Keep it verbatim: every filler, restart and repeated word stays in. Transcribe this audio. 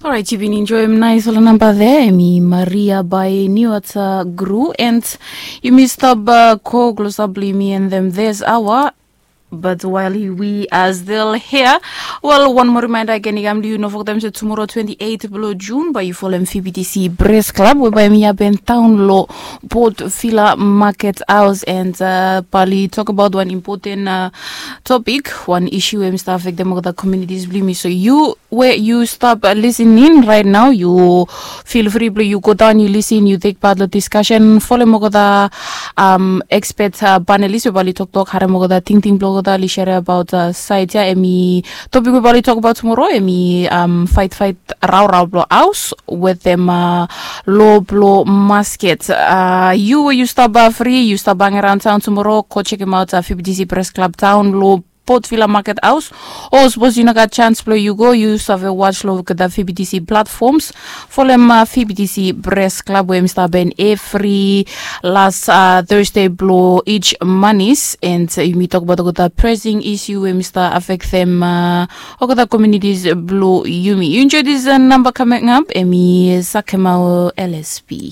Orait, yu bin enjoyim nais ol namba there, em i Maria by New Ata Gru, and yumi stop go close up blong yumi and them this hour. But while we are still here, well, one more reminder again, i kam blong yu, no forgetem se tomorrow twenty-eight blong June, bae yu folem V B T C Press Club, we bae mi happen town lo Port Villa Market House, and uh, bae oli talk about one important uh, topic, one issue we mi start affectem olgeta communities blong yumi. So you we yu stap listening right now, yu feel free blong yu go daon, yu listen, yu take part lo discussion, folem olgeta um, expert uh, panelist we bae oli toktok, harem olgeta tingting blong olgeta, oli share about uh, side ya, em i topic we bae oli talk about tomorrow, em i um, fight fight raorao blong haus wetem uh, lo blong masket. Uh, yu we yu stap uh, free, yu stap hang around town tomorrow, go chekem out uh, V B T C Press Club town lo Port Villa Market House. O sapos yu no gat chance blong yu go, yu save watch lo olgeta V B T C platforms. Folem uh, V B T C Press Club we mi stap happen every last uh, Thursday blong each manis, and uh, yumi talk about olgeta pressing issue we mi stap affectem uh, olgeta communities blong yumi. Yu enjoy this uh, number coming up, em i Sakemau L S P.